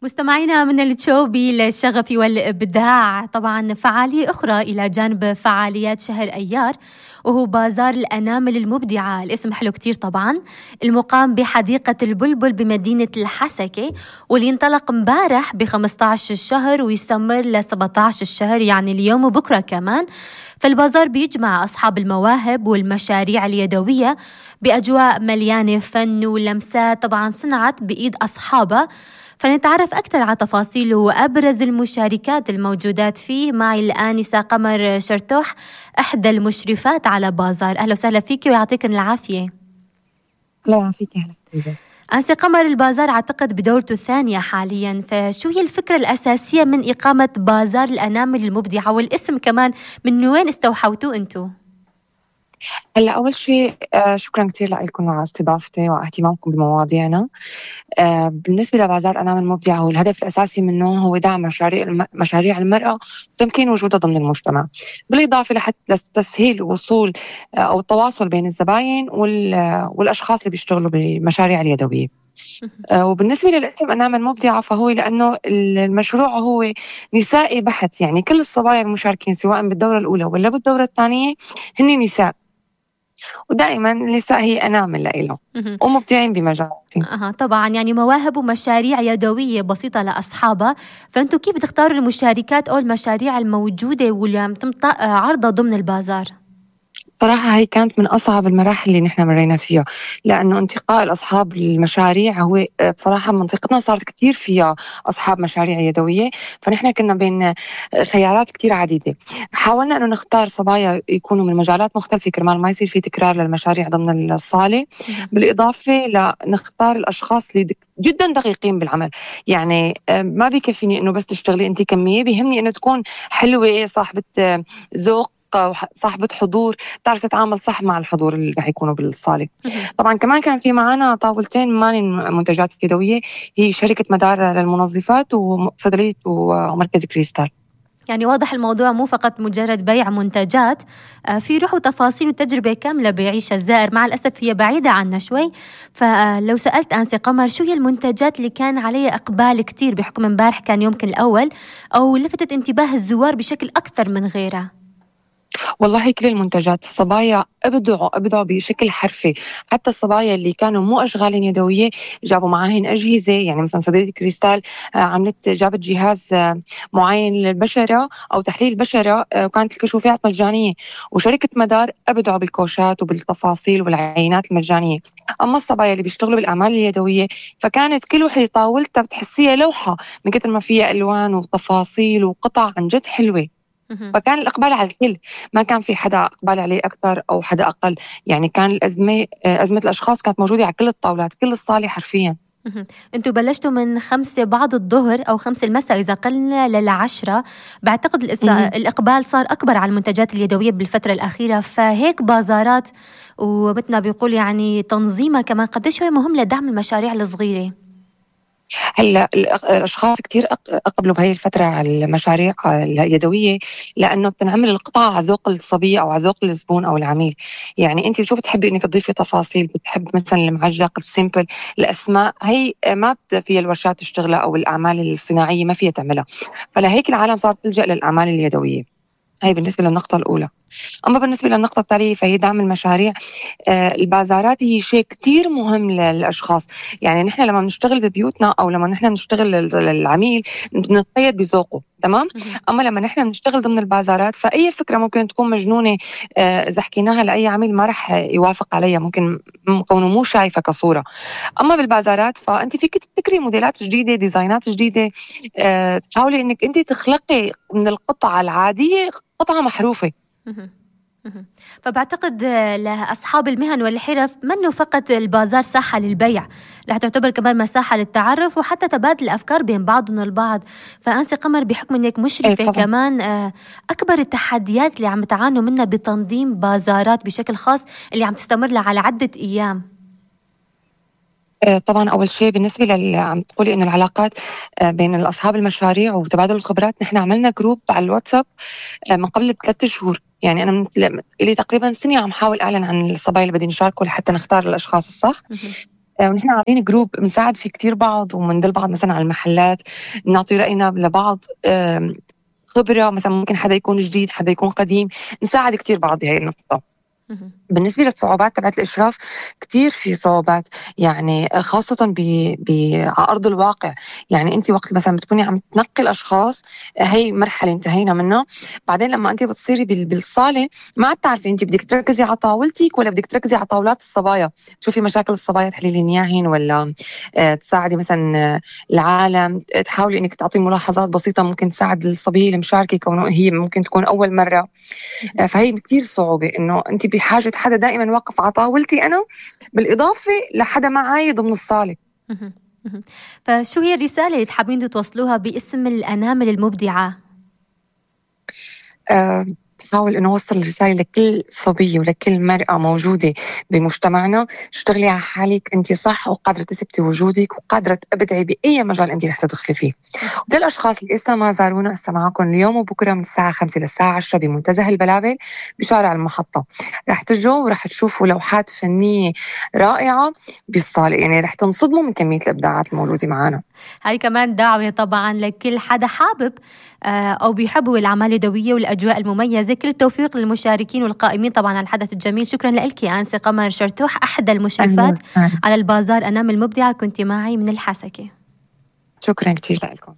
مستمعينا من التشوبي للشغف والإبداع، طبعا فعالية أخرى إلى جانب فعاليات شهر أيار وهو بازار الأنامل المبدعة. الاسم حلو كتير طبعا، المقام بحديقة البلبل بمدينة الحسكة، واللي انطلق مبارح ب15 الشهر ويستمر ل17 الشهر، يعني اليوم وبكرة كمان. فالبازار بيجمع أصحاب المواهب والمشاريع اليدوية بأجواء مليانة فن ولمسات طبعا صنعت بإيد أصحابها. فنتعرف أكثر على تفاصيل وأبرز المشاركات الموجودات فيه معي الآنسة قمر شرتوح، إحدى المشرفات على بازار. أهلا وسهلا فيك ويعطيكن العافية. لا فيك. أهلا. آنسة قمر، البازار أعتقد بدورته الثانية حاليا، فشو هي الفكرة الأساسية من إقامة بازار الأنامل المبدعة، والاسم كمان من وين استوحوتوه أنتو؟ هلا أول شيء شكرا كتير لكم على استضافتي واهتمامكم بمواضيعنا. بالنسبة لبازار أنامل مبدعة، هو الهدف الأساسي منه هو دعم مشاريع المرأة وتمكين وجودها ضمن المجتمع، بالإضافة لحتى تسهيل الوصول أو التواصل بين الزباين والأشخاص اللي بيشتغلوا بالمشاريع اليدوية. وبالنسبة للاسم أنامل مبدعة، فهو لأنه المشروع هو نسائي بحت، يعني كل الصبايا المشاركين سواء بالدورة الأولى ولا بالدورة الثانية هن نساء، ودائما النساء هي أنامل لإلهم ومبدعين بمجالاتهم. طبعا يعني مواهب ومشاريع يدوية بسيطة لأصحابها. فأنتوا كيف بتختاروا المشاركات أو المشاريع الموجودة واللي عم عرضها ضمن البازار؟ صراحة هي كانت من أصعب المراحل اللي نحن مرينا فيها، لأنه انتقاء الأصحاب المشاريع هو بصراحة منطقتنا صارت كتير فيها أصحاب مشاريع يدوية، فنحن كنا بين خيارات كتير عديدة. حاولنا أنه نختار صبايا يكونوا من مجالات مختلفة كرمال ما يصير في تكرار للمشاريع ضمن الصالة، بالإضافة لنختار الأشخاص اللي جدا دقيقين بالعمل. يعني ما بيكفيني أنه بس تشتغلي أنت كمية، بيهمني أنه تكون حلوة، صاحبة ذوق، صاحبة حضور، تعرف تتعامل صح مع الحضور اللي رح يكونوا بالصالة. طبعا كمان كان في معنا طاولتين منتجات يدوية، هي شركة مدار للمنظفات وصيدلية ومركز كريستال. يعني واضح الموضوع مو فقط مجرد بيع منتجات، في روح وتفاصيل وتجربة كاملة بيعيشها الزائر. مع الأسف هي بعيدة عنا شوي، فلو سألت آنسة قمر شو هي المنتجات اللي كان عليها إقبال كتير بحكم امبارح كان يومكن الأول، أو لفتت انتباه الزوار بشكل أكثر من غيرها؟ والله كل المنتجات الصبايا أبدعوا بشكل حرفي. حتى الصبايا اللي كانوا مو أشغال يدوية جابوا معاهن أجهزة، يعني مثلا صيدلية كريستال جابت جهاز معين للبشرة أو تحليل البشرة، وكانت الكشوفات مجانية. وشركة مدار أبدعوا بالكوشات وبالتفاصيل والعينات المجانية. أما الصبايا اللي بيشتغلوا بالأعمال اليدوية فكانت كل وحدة طاولتها بتحسيها لوحة من كتر ما فيها ألوان وتفاصيل وقطع عن جد حلوة. فكان الإقبال على الكل، ما كان في حدا إقبال عليه أكثر أو حدا أقل. يعني كان أزمة الأشخاص كانت موجودة على كل الطاولات، كل الصالة حرفيا. انتوا بلشتوا من 5 بعد الظهر أو 5 المساء إذا قلنا ل10. بعتقد الإقبال صار أكبر على المنتجات اليدوية بالفترة الأخيرة، فهيك بازارات ومثل ما بيقول يعني تنظيمها كمان قديش هو مهم لدعم المشاريع الصغيرة. هلا الاشخاص كتير اقبلوا بهي الفتره على المشاريع اليدويه، لانه بتنعمل القطعه على ذوق الصبيه او على ذوق الزبون او العميل. يعني انت شو بتحبي انك تضيفي تفاصيل، بتحب مثلا المعجق السيمبل، الاسماء هي ما فيها الورشات تشتغلها او الاعمال الصناعيه ما فيها تعملها، فلهيك العالم صارت تلجأ للاعمال اليدويه. هي بالنسبه للنقطه الاولى. أما بالنسبة للنقطة التالية فهي دعم المشاريع. البازارات هي شيء كتير مهم للأشخاص. يعني نحن لما نشتغل ببيوتنا أو لما نحن نشتغل للعميل نتقيد بذوقه، تمام؟ أما لما نحن نشتغل ضمن البازارات فأي فكرة ممكن تكون مجنونة إذا حكيناها لأي عميل ما رح يوافق عليها، ممكن كونه مو شايفة كصورة. أما بالبازارات فأنت فيك تبتكري موديلات جديدة، ديزاينات جديدة، تحاولي إنك أنت تخلقي من القطعة العادية قطعة محروفة. فبعتقد لأصحاب المهن والحرف منه فقط البازار ساحة للبيع، رح تعتبر كمان مساحة للتعرف وحتى تبادل الأفكار بين بعضهم البعض. فأنسة قمر بحكم أنك مشرفة كمان، أكبر التحديات اللي عم تعانوا منها بتنظيم بازارات بشكل خاص اللي عم تستمر لها على عدة أيام؟ طبعا أول شيء بالنسبة عم تقولي إنه العلاقات بين أصحاب المشاريع وتبادل الخبرات، نحن عملنا جروب على الواتساب من قبل ب3 شهور. يعني أنا لي تقريبا سنة عم حاول أعلن عن الصبايا اللي بدي نشاركوا لحتى نختار الأشخاص الصح. ونحن عاملين جروب بنساعد فيه كتير بعض، ومندل بعض مثلا على المحلات، نعطي رأينا لبعض. خبرة مثلا، ممكن حدا يكون جديد، حدا يكون قديم، نساعد كتير بعض بهاي النقطة. بالنسبة للصعوبات تبعت الإشراف، كتير في صعوبات، يعني خاصة على أرض الواقع. يعني أنت وقت مثلا بتكوني عم تنقي الأشخاص، هي مرحلة انتهينا منها. بعدين لما أنت بتصيري بالصالة، ما عاد تعرفي أنت بدك تركزي على طاولتك ولا بدك تركزي على طاولات الصبايا، تشوفي مشاكل الصبايا تحليلين إياهن، ولا تساعدي مثلا العالم، تحاولي إنك تعطي ملاحظات بسيطة ممكن تساعد الصبية المشاركة، كونه هي ممكن تكون أول مرة. فهي كتير صعوبة إنه أنت بحاجة حدا دائما واقف على طاولتي أنا، بالإضافة لحدا معي ضمن الصالة. فشو هي الرسالة اللي تحبين توصلوها باسم الأنامل المبدعة؟ بحاول إنه أوصل الرسالة لكل صبية ولكل مرأة موجودة بمجتمعنا: اشتغلي على حالك، أنت صح وقادرة تثبتي وجودك وقادرة تبدعي بأي مجال أنت رح تدخلي فيه. وللأشخاص اللي لسه ما زارونا، هسه معكم اليوم وبكرة من الساعة 5 للساعة 10 بمنتزه البلابل بشارع المحطة. رح تجوا ورح تشوفوا لوحات فنية رائعة بالصالة، يعني رح تنصدموا من كمية الإبداعات الموجودة معنا. هاي كمان دعوة طبعا لكل حدا حابب أو بيحبوا الأعمال اليدوية والأجواء المميزة. كل التوفيق للمشاركين والقائمين طبعا على الحدث الجميل. شكرا لك أنسة قمر شرتوح، أحدى المشرفات على البازار أنامل المبدعة، كنت معي من الحسكة. شكرا كتير لكم.